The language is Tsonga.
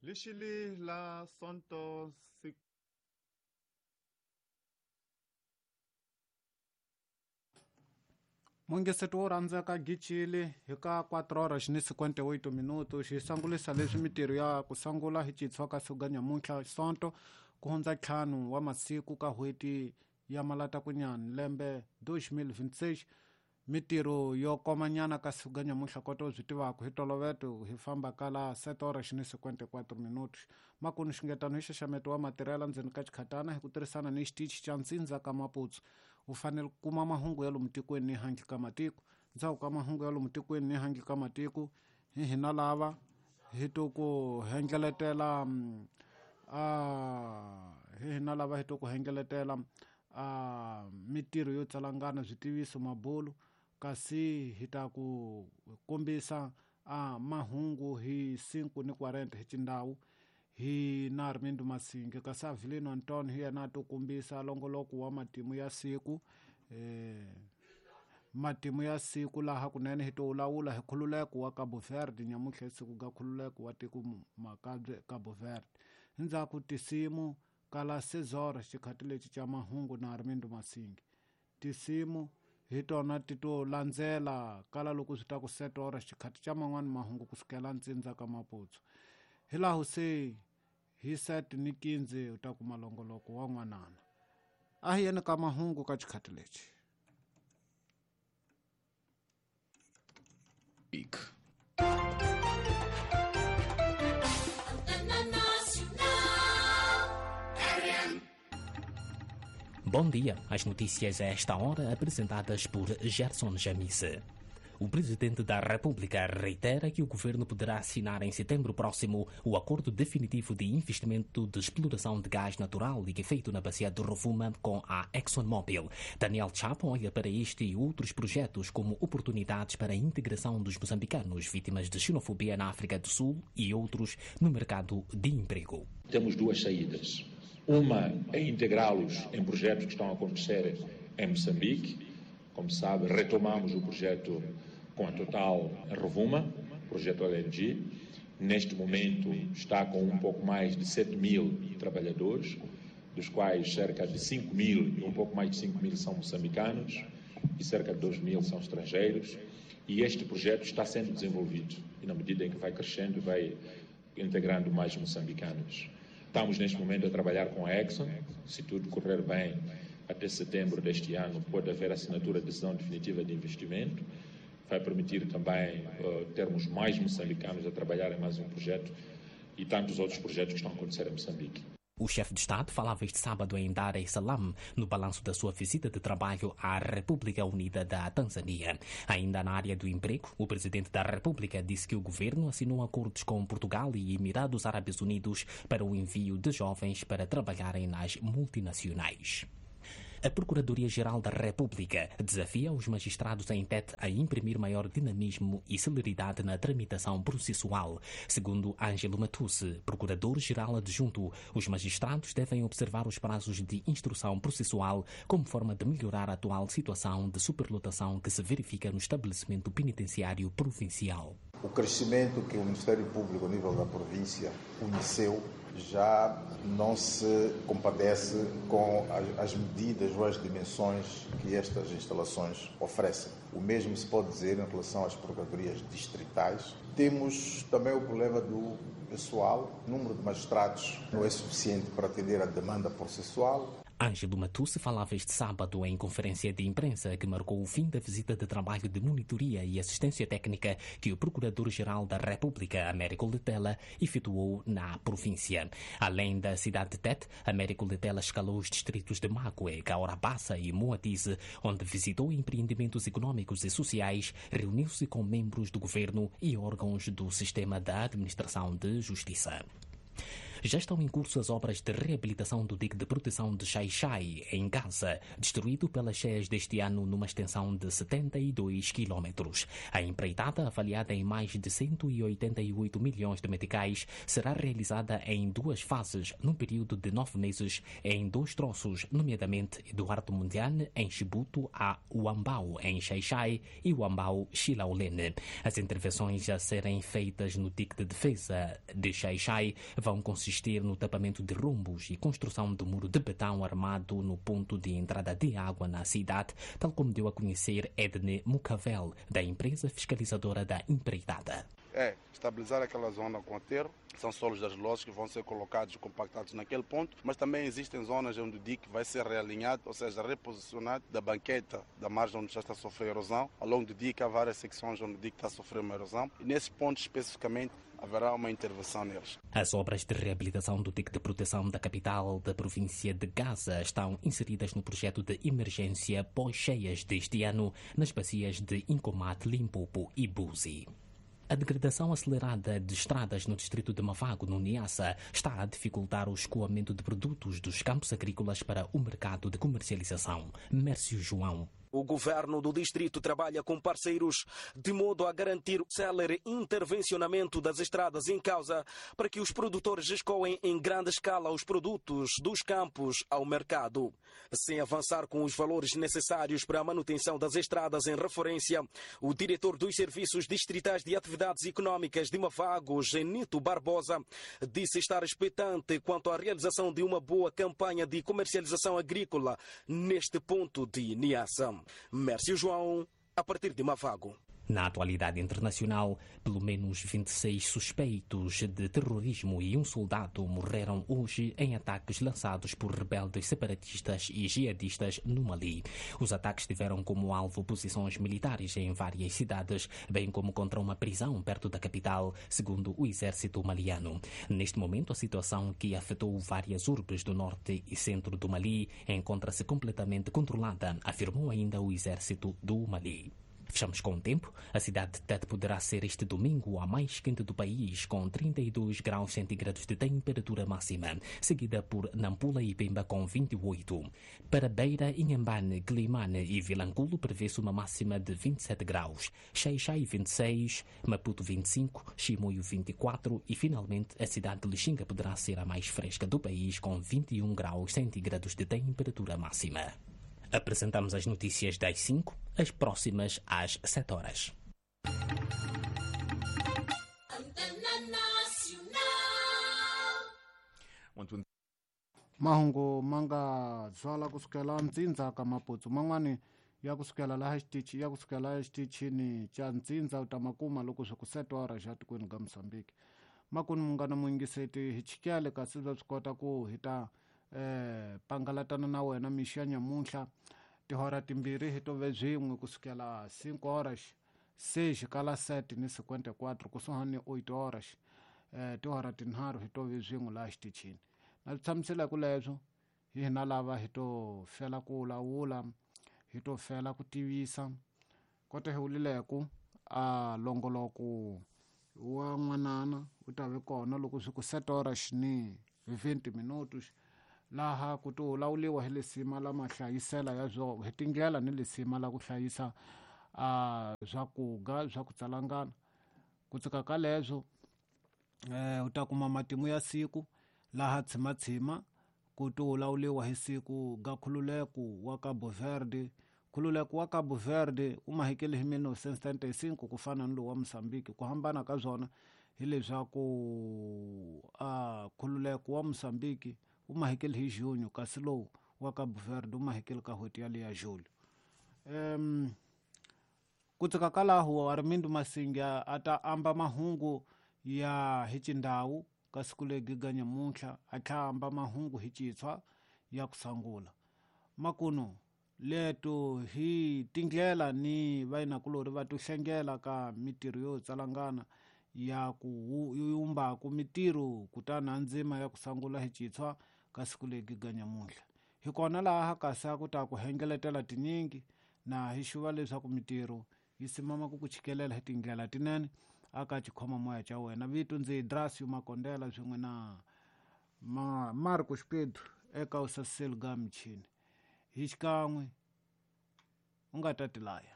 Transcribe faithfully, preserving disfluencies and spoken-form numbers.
Lixili la Sonto si Mungeseto wo rhandzeka gicile hi ka quatro horas ni cinquenta e oito minutos xi sangulisa leswi mitirho ya ku sangula hi citshwa ka siku nyamuntlha Sonto ku hundza ntlhanu wa masiku ka n'hweti ya Malatakunyani lembe dois mil vinte e seis. Mitirho yo komanyana ka siku nyamuntlha koto byi tivaka hi toloveto hi famba kala sete horas ni cinquenta e quatro minutos. Makunu xingetano hi xaxameto wa matirhela ndzeni ka xikhatana hi ku tirhisana ni xitichi xa ntsindza ka Maputsu. U fanele ku kuma mahungu ya lomu tikweni ni handle ka matiko. Ndzhaku ka mahungu ya lomu tikweni ni handle ka matiko hi hina lava hi to ku hengeletela a hi hina lava hi to ku hengeletela a mitirho yo tsalangana switiviso mabulu kasi hi ta ku kombisa a mahungu hi cinco ni quarenta hi xindhawu hi na Armindo Masinge kasi Avelino Antonio hi yena a to kombisa longoloko wa matimu ya siku eh matimu ya siku laha kunene hi to lawula hi khululeko wa Cabo Verde nyamuntlha siku ga khululeko wa tiko makabye Cabo Verde. Ndzhaku tisimu kala Cesar xikhathi lexi xa mahungu na Armindo Masinge tisimu hi tona ti to landzela kala loko swi ta ku sete horas xikhathi xa man'wani mahungu kusukela ntsindza ka Maputsu. Hi laha se hi sete ni quinze u ta kuma longoloko wa n'wanana. A hi yeni ka mahungu ka xikhathi lexi. Bom dia. As notícias a esta hora apresentadas por Gerson Jamise. O presidente da República reitera que o governo poderá assinar em setembro próximo o acordo definitivo de investimento de exploração de gás natural liquefeito na bacia do Rovuma com a ExxonMobil. Daniel Chapo olha para este e outros projetos como oportunidades para a integração dos moçambicanos vítimas de xenofobia na África do Sul e outros no mercado de emprego. Temos duas saídas. Uma é integrá-los em projetos que estão a acontecer em Moçambique. Como sabe, retomamos o projeto com a Total Rovuma, projeto L N G. Neste momento está com um pouco mais de sete mil trabalhadores, dos quais cerca de cinco mil e um pouco mais de cinco mil são moçambicanos e cerca de dois mil são estrangeiros. E este projeto está sendo desenvolvido e na medida em que vai crescendo, vai integrando mais moçambicanos. Estamos neste momento a trabalhar com a Exxon. Se tudo correr bem, até setembro deste ano pode haver assinatura de decisão definitiva de investimento. Vai permitir também uh, termos mais moçambicanos a trabalhar em mais um projeto e tantos outros projetos que estão a acontecer em Moçambique. O chefe de Estado falava este sábado em Dar es Salaam, no balanço da sua visita de trabalho à República Unida da Tanzânia. Ainda na área do emprego, o presidente da República disse que o governo assinou acordos com Portugal e Emirados Árabes Unidos para o envio de jovens para trabalharem nas multinacionais. A Procuradoria-Geral da República desafia os magistrados em Tete a imprimir maior dinamismo e celeridade na tramitação processual. Segundo Ângelo Matusse, Procurador-Geral Adjunto, os magistrados devem observar os prazos de instrução processual como forma de melhorar a atual situação de superlotação que se verifica no estabelecimento penitenciário provincial. O crescimento que o Ministério Público a nível da província conheceu já não se compadece com as, as medidas ou as dimensões que estas instalações oferecem. O mesmo se pode dizer em relação às procuradorias distritais. Temos também o problema do pessoal. O número de magistrados não é suficiente para atender à demanda processual. Ângelo Matusse falava este sábado em conferência de imprensa que marcou o fim da visita de trabalho de monitoria e assistência técnica que o Procurador-Geral da República, Américo Letela, efetuou na província. Além da cidade de Tete, Américo Letela escalou os distritos de Macué, Caorabassa e Moatize, onde visitou empreendimentos econômicos e sociais, reuniu-se com membros do governo e órgãos do sistema da administração de justiça. Já estão em curso as obras de reabilitação do dique de proteção de Xai-Xai, em Gaza, destruído pelas cheias deste ano numa extensão de setenta e dois quilômetros. A empreitada, avaliada em mais de cento e oitenta e oito milhões de meticais, será realizada em duas fases, num período de nove meses, em dois troços, nomeadamente Eduardo Mundiane, em Chibuto, a Uambau, em Xai-Xai, e Uambau, Xilaulene. As intervenções a serem feitas no dique de defesa de Xai-Xai vão consistir no tapamento de rombos e construção do muro de betão armado no ponto de entrada de água na cidade, tal como deu a conhecer Edne Mucavel, da empresa fiscalizadora da empreitada. É estabilizar aquela zona com aterro, são solos argilosos que vão ser colocados e compactados naquele ponto, mas também existem zonas onde o dique vai ser realinhado, ou seja, reposicionado da banqueta da margem onde já está a sofrer erosão. Ao longo do dique há várias secções onde o dique está a sofrer uma erosão e nesses pontos especificamente haverá uma intervenção neles. As obras de reabilitação do dique de proteção da capital da província de Gaza estão inseridas no projeto de emergência pós-cheias deste ano nas bacias de Incomate, Limpopo e Buzi. A degradação acelerada de estradas no distrito de Mavago, no Niassa, está a dificultar o escoamento de produtos dos campos agrícolas para o mercado de comercialização. Mércio João. O governo do distrito trabalha com parceiros de modo a garantir o célere intervencionamento das estradas em causa para que os produtores escoem em grande escala os produtos dos campos ao mercado. Sem avançar com os valores necessários para a manutenção das estradas em referência, o diretor dos Serviços Distritais de Atividades Econômicas de Mavago, Genito Barbosa, disse estar expectante quanto à realização de uma boa campanha de comercialização agrícola neste ponto de Niassa. Mércio João, a partir de Mavago. Na atualidade internacional, pelo menos vinte e seis suspeitos de terrorismo e um soldado morreram hoje em ataques lançados por rebeldes separatistas e jihadistas no Mali. Os ataques tiveram como alvo posições militares em várias cidades, bem como contra uma prisão perto da capital, segundo o exército maliano. Neste momento, a situação que afetou várias urbes do norte e centro do Mali encontra-se completamente controlada, afirmou ainda o exército do Mali. Fechamos com o tempo. A cidade de Tete poderá ser este domingo a mais quente do país, com trinta e dois graus centígrados de temperatura máxima, seguida por Nampula e Pemba com vinte e oito. Para Beira, Inhambane, Climane e Vilanculo prevê-se uma máxima de vinte e sete graus, Xai-Xai vinte e seis, Maputo vinte e cinco, Chimoio vinte e quatro e finalmente a cidade de Lixinga poderá ser a mais fresca do país, com vinte e um graus centígrados de temperatura máxima. Apresentamos as notícias das cinco, as próximas às sete horas. Mahungu manga zwala kusukela ntsindza ka Maputsu man'wani ya kusukela laha xitichi ya kusukela xitichini xa ntsindza u ta makuma loko swi ku sete horas xa tikweni ka Mozambique. Makuni munghana muyingiseti hi chikele kasi bya swi kota ku hi ta eh pangalatana na wena mixo ya nyamuntlha tihora timbirhi hi tove byin'we kusukela cinco horas seis kala sete ni cinquenta e quatro kusuhani ni oito horas eh tihora tinharhu hi tove byin'we laha xitichini na swi tshamisela ku leswo hi hina lava hi to fela ku lawula hi to fela ku tivisa kota hi wulileku a longoloko wa n'wanana u ta ve kona loko swi ku sete horas ni vinte minutos laha ku to lawuliwa hi lisima la mahlayisela ya swo hi tindlela ni lisima la ku hlayisa a swakuga swa ku tsalangana ku tsika ka leswo eh u ta kuma matimu ya siku laha tshimatshima ku to lawuliwa hi siku ga Khululeko wa Cabo Verde. Khululeko wa Cabo Verde u mahekele hi mil novecentos e setenta e cinco ku fana ni lowu wa Mozambique. Ku hambana ka swona hileswaku a Khululeko wa Mozambique u mahekele hi junho kasi lowu wa Cabo Verde u mahekele ka n'hweti yaliya julho. Um ku tsika ka laho Armindo Masinga a ta amba mahungu ya hi xindhawu ka siku legi ga nyamuntlha a tlhela amba mahungu hi xitshwa ya ku sangula. Makuno leto hi tindlela ni vayinakulori va to hlengela ka mitirho yo tsalangana ya ku yumbaku mitirho kutani a ndzima ya ku sangula hi xitshwa ka siku legi ga nyamuntlha. Hi kona laha kasi a ku ta ku hengeletela tinyingi na hi xuva leswaku mitirho yi simama ku ku chikelela hi tindlela tinene aka xikhoma moya xa wena. Vito ndzi Drasio Makondela swin'we na Ma Marcos Pedro eka usaseli ga michini hi xikan'we u nga ta tilaya.